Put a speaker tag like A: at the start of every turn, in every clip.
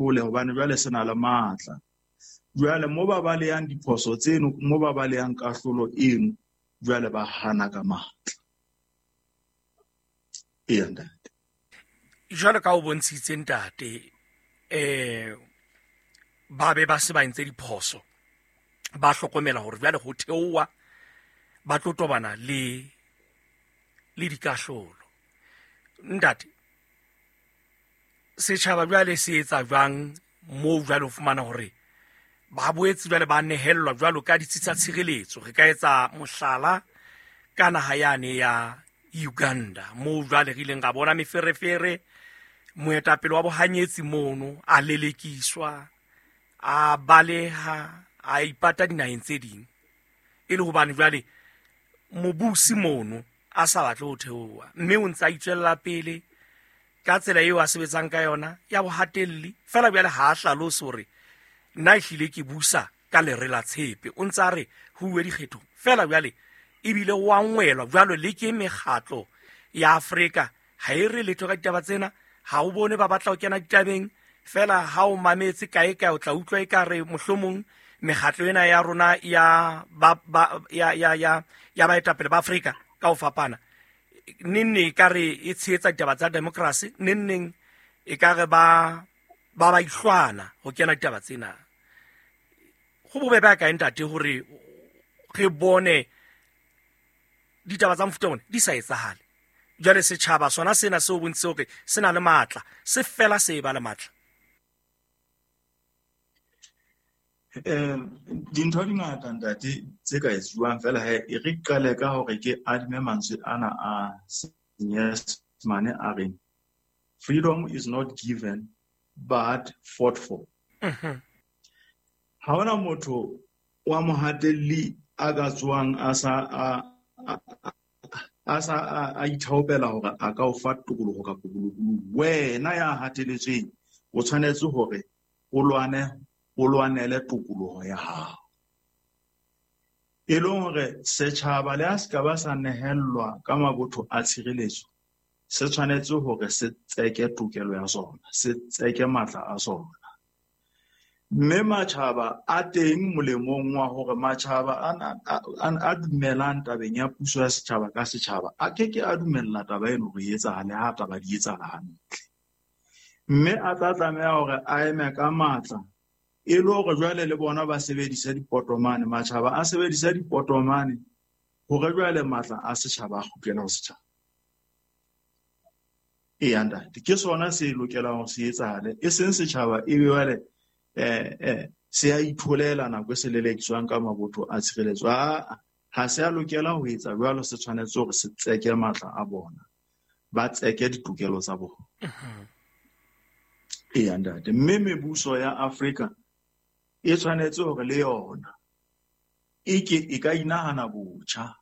A: Ahlole hobane jwale se na le matla. Jwale mo ba balehang diphoso tseno, mo ba balehang kahlolo eno, jwale ba hana ka matla. Eya, ntate.
B: Jwalo ka o bontshitse, ntate, ba be ba se ba entse diphoso, ba hlokomela hore jwale ho theoha ba tlo tobana le dikahlolo. Ntate, setjhaba jwale se etsa jwang moo jwale o fumana hore ba boetse jwale ba nehellwa jwalo ka ditsi tsa tshireletso? Re ka etsa mohlala ka naha yane ya Uganda, moo jwale re ileng ra bona meferefere, moetapele wa bohanyetsi mono a lelekiswa, a baleha, a ipata dinaheng tse ding, e le hobane jwale mobusi mono a sa batle ho theoha, mme o ntse a itswella pele ka tsela eo a sebetsang ka yona ya bohatelli. Fela bjale ha a hlalose hore nna ehlile ke busa ka lere la tshepe, o ntse a re ho uwe dikgethong fela. Bjale ebile o angwelwa jwalo le ke mekgatlo ya Afrika, ha e re letho ka ditaba tsena. Ha o bone ba batla ho kena ditabeng fela. Ha o mametse kae kae, o tla utlwa e ka re mohlomong mekgatlo ena ya rona ya ba, ba, ya, ya, ya, ya baetapele ba Afrika ka ho fapana, neng neng e ka re e tshehetsa ditaba tsa democracy, neng neng e ka re ba ihlwana ho kena ditaba tsena. Go bobebe a kae, ntate, hore re bone ditaba tsa mofuta ona di sa etsahale? Jwale setjhaba sona sena seo bontshitse hore se na le matla, se fela se e ba le matla.
A: Dintho di ngata, ntate, tse ka etsuwang. Fela he, e re qale ka hore ke adime mantswe ana a Senyesemane a reng, "Freedom is not given but fought for." Ha hona motho wa mohatelli a ka tsoang a sa a sa a ithaopela hore a ka o fa tokoloho kapa bolokolohi. Wena ya hateletsweng o tshwanetse hore o lwane, o lwanele tokoloho ya hao. E leng hore setjhaba le ha se ka ba sa nehellwa ka mabotho a tshireletso, se tshwanetse hore se tseke tokelo ya sona, se tseke matla a sona. Mme matjhaba a teng molemong wa hore matjhaba a dumelang tabeng ya puso ya setjhaba ka setjhaba a ke ke a dumella taba eno hore e etsahale ha taba di etsahala hantle. Mme a tla tlameha hore a eme ka matla, e le hore jwale le bona ba sebedise dipotomane, matjhaba a sebedise dipotomane hore jwale matla a setjhaba a kgutlele ho setjhaba. Eya, ntate, ke sona se lokelang hore se etsahale, e seng setjhaba e be jwale se a itholela nako e se lelekiswang ka mabotho a tshireletso. Aa, ha se a lokela ho etsa jwalo, se tshwanetse hore se tseke matla a bona, ba tseke ditokelo tsa bona. Eya, ntate, mme mebuso ya Afrika e tshwanetse hore le yona e ke e ka inahana botjha.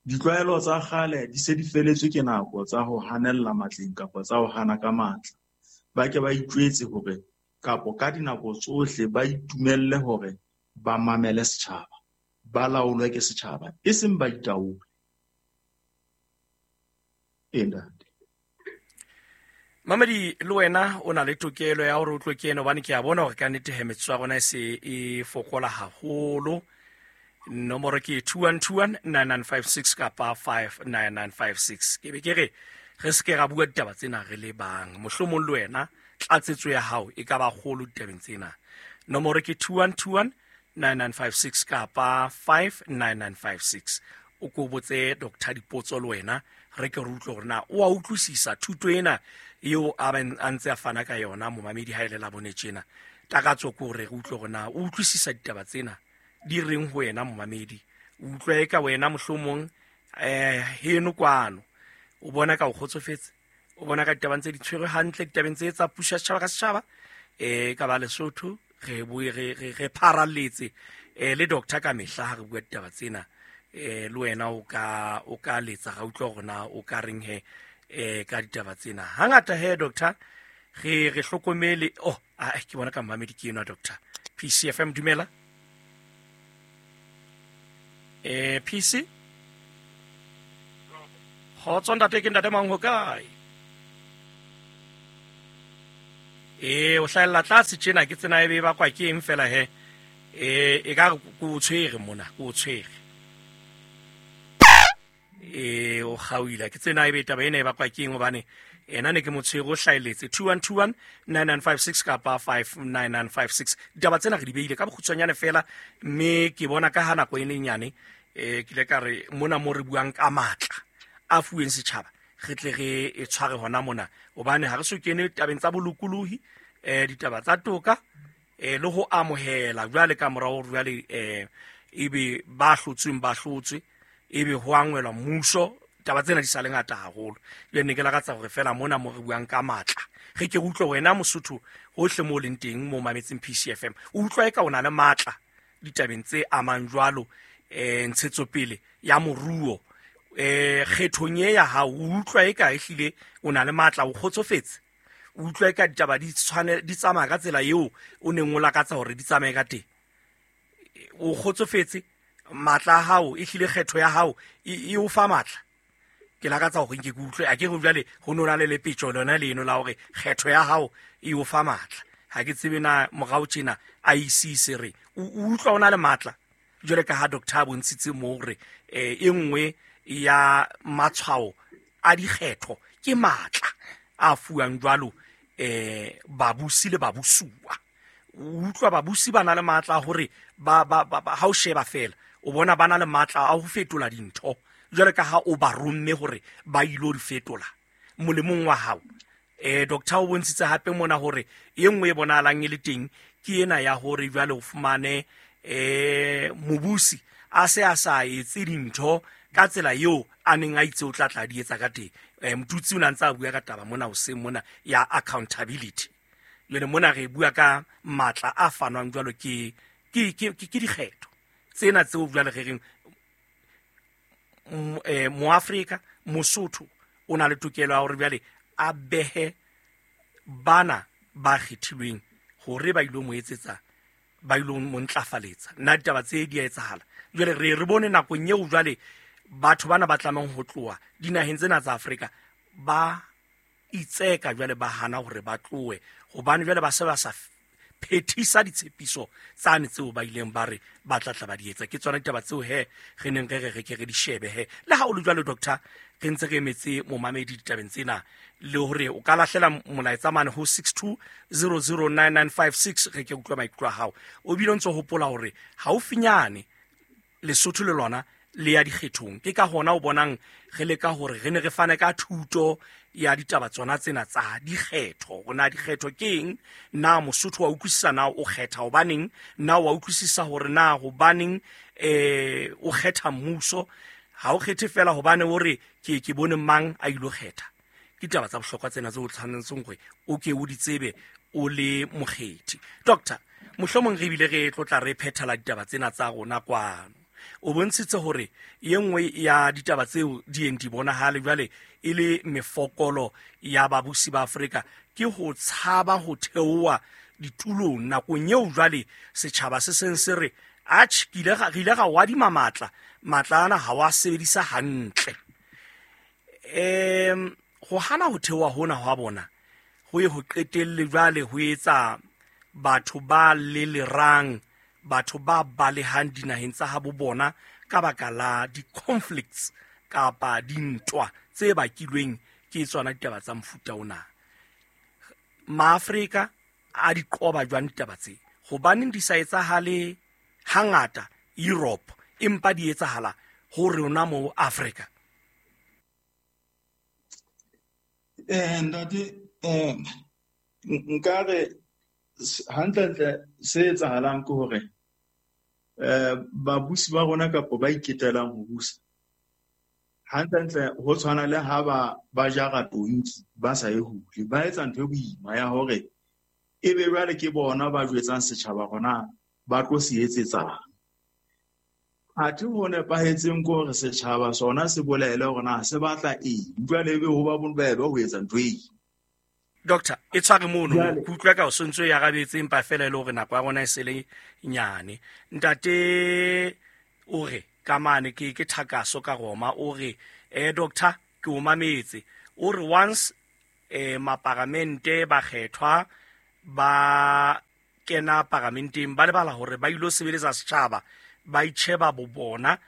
A: Ditlwaelo tsa kgale di se di feletswe ke nako tsa ho hanella matleng kapa tsa ho hana ka matla. Ba ke ba itjwetse hore kapo ka dinako tsohle ba itumelle hore ba mamele setjhaba, ba laolwe ke setjhaba, e seng ba itaole. Ee, ntate.
B: Mamedi, le wena o na le tokelo ya hore o tlo kene, hobane ke a bona hore ka nnete he metsotso ya rona e se e fokola haholo. Nomoro ke 2121 9956 kapa 59956. Ke be ke re re se ke ra bua ditaba tsena re le bang, mohlomong le wena tlatsetso ya hao e ka ba kgolo ditabeng tsena. Nomoro ke 2121 9956 kapa 59956. O ko botse doctor dipotso le wena, re ke re utlwe hore na o a utlwisisa thuto ena eo a a ntse a fana ka yona. Momamedi, ha e le la bone tjena, takatso ke hore re utlwe hore na o utlwisisa ditaba tsena di reng ho wena. Momamedi, o utlwa e ka wena mohlomong heno kwano o bona ka o kgotsofetse, o bona ka ditaba ntse di tshwerwe hantle ditabeng tse tsa puso ya setjhaba ka setjhaba ka ba Lesotho. Re boe re pharalletse le doctor ka mehla ha re bua ditaba tsena. Le wena o ka letsa, ra utlwa hore na o ka reng he ka ditaba tsena. Hangata he, doctor, re hlokomele. Oh, ah, ke bona ka mmamedi ke enwa. Doctor, PCFM, dumela. PC, kgotso ntate, ke ntate mang, ho kae? Ee, o hlahella tlase tjena, ke tsena e be e bakwa ke eng fela he? Ee, e ka re ke o tshwere mona, ke o tshwere. Ee, o kgaohile. Ke tsena ebe taba ena e bakwa ke eng, hobane ena ne ke mo tshwere, o hlahelletse 2121 9956 kapa 59956. Ditaba tsena re di beile ka bokgutshwanyane fela, mme ke bona ka ha nako e le nyane, ke ile ka re mona mo re buang ka matla a fuweng setjhaba, re tle re e tshware hona mona, hobane ha re so kene tabeng tsa bolokolohi, ditaba tsa toka, le ho amohela jwale ka morao hore jwale, ebe ba hlotsweng ba hlotswe, ebe ho angwelwa mmuso. Taba tsena di sa le ngata haholo. Jwale ne ke lakatsa hore fela mona mo re buang ka matla, re ke re utlwe wena Mosotho hohle mo o leng teng, mo mametseng PCFM, o utlwa eka o na le matla ditabeng tse amang jwalo, ntshetsopele ya moruo, kgethong e ya hao, o utlwa eka ehlile o na le matla, o kgotsofetse, o utlwa eka ditaba di tshwane, di tsamaya ka tsela eo o neng o lakatsa hore di tsamaye ka teng, o kgotsofetse, matla a hao ehlile kgetho ya hao e o fa matla. Ke lakatsa hore nke ke utlwe, a ke re jwale ho no na le lepetjo lona leno la hore kgetho ya hao e o fa matla. Ha ke tsebe na morao tjena a ise se re o utlwa o na le matla, jwale ka ha doctor a bontshitse moo hore, e nngwe ya matshwao a dikgetho ke matla a fuwang jwalo, babusi le babusuwa. O utlwa babusi ba na le matla a hore ha o sheba fela, o bona ba na le matla a ho fetola dintho, jwale ka ha o ba romme hore ba ilo di fetola molemong wa hao. Doctor o bontshitse hape mona hore e nngwe e bonahalang e le teng ke ena ya hore jwale o fumane, mobusi a se a sa etse dintho ka tsela eo a neng a itse o tla tla di etsa ka teng. Motutsi o ne a ntse a bua ka taba mona hoseng mona ya accountability. Jwale mona re bua ka matla a fanwang jwalo ke dikgetho tsena tseo jwale re reng, Moafrika, Mosotho o na le tokelo ya hore jwale a behe bana ba kgethilweng hore ba ilo mo etsetsa, ba ilo mo ntlafaletsa. Nna ditaba tse di a etsahala. Jwale re bone nakong eo jwale batho bana ba tlamehang ho tloha dinaheng tsena tsa Afrika ba itseka jwale ba hana hore ba tlohe, hobane jwale ba se ba sa phethisa ditshepiso tsane tseo ba ileng ba re ba tla tla ba di etsa. Ke tsona ditaba tseo he re neng re re re ke re di shebe he. Le ha o le jwalo doctor, re ntse re emetse momamedi ditabeng tsena, le hore o ka lahlela molaetsa mane ho 62009956, re ke utlwe maikutlo a hao. O bile o ntso hopola hore haufinyane Lesotho le lona le ya dikgethong. Ke ka hona o bonang re leka hore re ne re fane ka thuto ya ditaba tsona tsena tsa dikgetho. Hore na dikgetho ke eng, na Mosotho wa utlwisisa na o kgetha hobaneng, na wa utlwisisa hore na hobaneng, o kgetha mmuso. Ha o kgethe fela hobane o re ke bone mang a ilo kgetha. Ke ditaba tsa bohlokwa tsena tseo o tshwanetseng hore o ke o di tsebe o le mokgethi. Doctor, mohlomong re bile re tlotla re phethela ditaba tsena tsa rona kwano. O bontshitse hore e nngwe ya ditaba tseo di yeng di bonahale jwale e le mefokolo ya babusi ba Afrika ke ho tshaba ho theoha ditulong nakong eo jwale setjhaba se seng se re, atjhe, ke ile re ile ra wadima matla, matla ana ha wa sebedisa hantle. Ho hana ho theoha hona hwa bona ho ye ho qetelle jwale ho etsa batho ba lelerang, batho ba balehang dinaheng tsa habo bona ka baka la di-conflicts kapa dintwa tse bakilweng ke tsona ditaba tsa mofuta ona. Maafrika a di qoba jwang ditaba tse? Hobaneng di sa etsahale hangata Europe empa di etsahala ho rona mo Afrika?
A: Ntate, nka re hantlentle se etsahalang ke hore, babusi ba rona kapa ba iketelang ho busa, hantlentle ho tshwana le ha ba jara tonki ba sa e hule, ba etsa ntho e boima ya hore ebe jwale ke bona ba jwetsang setjhaba hore ba tlo se etsetsang. Athe ho nepahetseng ke hore setjhaba sona se bolele hore na se batla eng, jwale ebe ho ba bobebe ho etsa ntho eo.
B: Doctor, e tshware mono, ke utlwa ka o sontso e arabetse empa fela e le hore nako ya rona e se le nyane. Ntate o re ka mane ke Thakaso ka Roma, o re, doctor, ke o mametse. O re once, maparamente ba kgethwa, Ba kena paramenteng ba lebala hore ba ilo sebeletsa setjhaba, ba itjheba bo bona.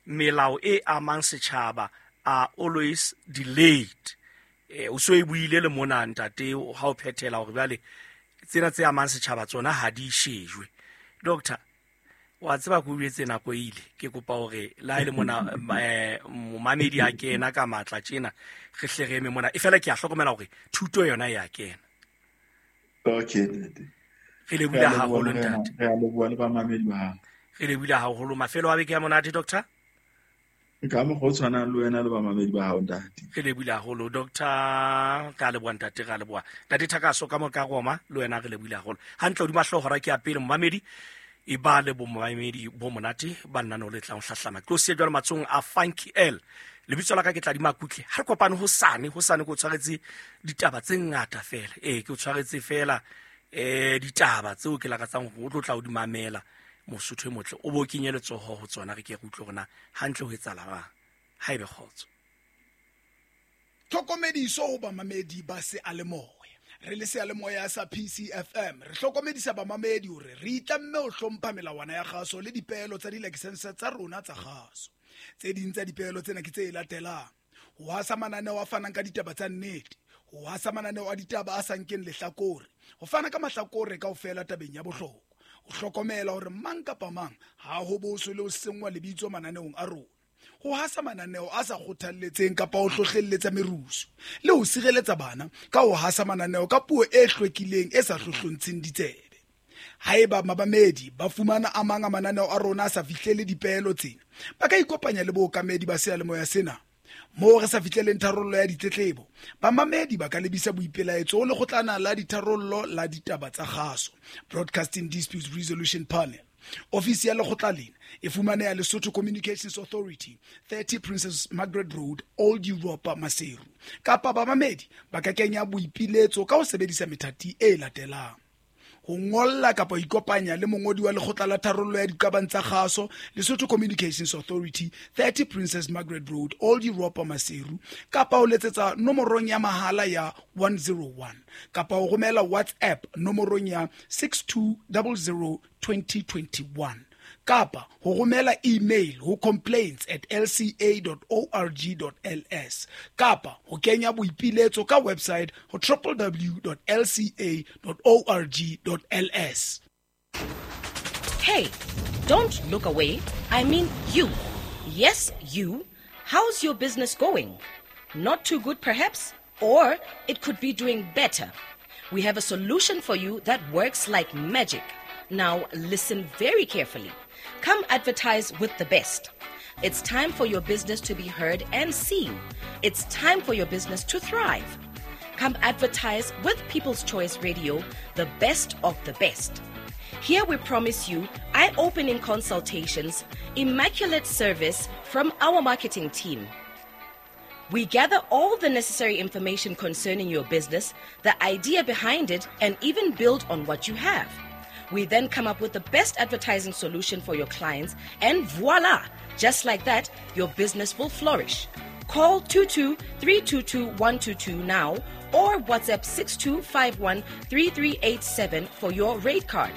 B: Melao e amang setjhaba are always delayed. O so e buile le mona ntate ha o phethela hore jwale tsena tse amang setjhaba tsona ha di shejwe. Doctor, wa tseba ke o jwetse nako e ile, ke kopa hore le ha e le mona momamedi a kena ka matla tjena, re hle re eme mona. E fela ke a hlokomela hore thuto yona e a kena.
A: Okay, ntate.
B: Re lebohile haholo ntate.
A: Re a leboha le bamamedi ba hao.
B: Re lebohile haholo. Mafelo a beke ya monate, doctor.
A: Ka mokgwa o tshwanang le wena le bamamedi ba hao, ntate.
B: Re lebohile haholo, doctor. Ka leboha ntate, ra leboha. Ntate Thakaso ka mo ka Roma, le wena re lebohile haholo. Hantle hodima hlooho hora ke ya pele momamedi. E ba le bomamedi bo monate ba nna no le tlang ho hlahlama. Ke o siya jwalo matsohong a Funky L. Lebitso la ka ke Tladi Makutle. Ha re kopane hosane, hosane ke o tshwaretse ditaba tse ngata fela. Ee, ke o tshwaretse fela ditaba tseo ke lakatsang hore o tlo tla o di mamela. Mosotho e motle, o bo kenye letsoho ho tsona, re ke re utlwe hore na hantle ho etsahala jwang. Ha ebe kgotso.
C: Tlhokomediso ho bamamedi ba seyalemoya. Re le seyalemoya sa PCFM re hlokomedisa bamamedi hore re itlamme ho hlompha melawana ya kgaso le dipeelo tsa dilakesense tsa rona tsa kgaso. Tse ding tsa dipeelo tsena ke tse latelang: ho hasa mananeo a fanang ka ditaba tsa nnete, ho hasa mananeo a ditaba a sa nkeng lehlakore, ho fana ka mahlakore kaofela tabeng ya bohlokwa, ho hlokomela hore mang kapa mang ha ho boswe le ho senngwa lebitso mananeong a rona, ho hasa mananeo a sa kgothalletseng kapa ho hlohlelletsa merusu, le ho sireletsa bana ka ho hasa mananeo ka puo e hlwekileng e sa hlohlontsheng ditsebe. Haeba mamamedi ba fumana a mang a mananeo a rona a sa fihlele dipeelo tsena, ba ka ikopanya le bookamedi ba seyalemoya sena. Moo re sa fihleleng tharollo ya ditletlebo, bamamedi ba ka lebisa boipelaetso ho lekgotlana la ditharollo la ditaba tsa kgaso, Broadcasting Disputes Resolution Panel. Ofisi ya lekgotla lena e fumaneha Lesotho Communications Authority, 30 Princess Margaret Road, Old Europa, Maseru. Kapa bamamedi ba ka kenya boipiletso ka ho sebedisa methati e latelang: ho ngolla kapa ho ikopanya le mongodi wa lekgotla la tharollo ya diqabang tsa kgaso, Lesotho Communications Authority, 30 Princess Margaret Road, Old Europa, Maseru, kapa ho letsetsa nomorong ya mahala ya 101, kapa ho romela WhatsApp nomorong ya 6200 2021, kapa ho romela email ho complaints@lca.org.ls, kapa ho kenya boipiletso ka website ho www.lca.org.ls.
D: Hey, don't look away. I mean you. Yes, you. How's your business going? Not too good, perhaps? Or it could be doing better. We have a solution for you that works like magic. Now, listen very carefully. Come advertise with the best. It's time for your business to be heard and seen. It's time for your business to thrive. Come advertise with People's Choice Radio, the best of the best. Here we promise you eye-opening consultations, immaculate service from our marketing team. We gather all the necessary information concerning your business, the idea behind it, and even build on what you have. We then come up with the best advertising solution for your clients, and voila! Just like that, your business will flourish. Call 22-322-122 now or WhatsApp 6251-3387 for your rate card.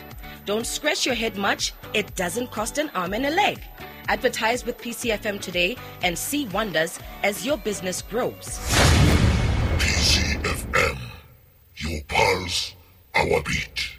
D: Don't scratch your head much. It doesn't cost an arm and a leg. Advertise with PCFM today and see wonders as your business grows.
E: PCFM, your pulse, our beat.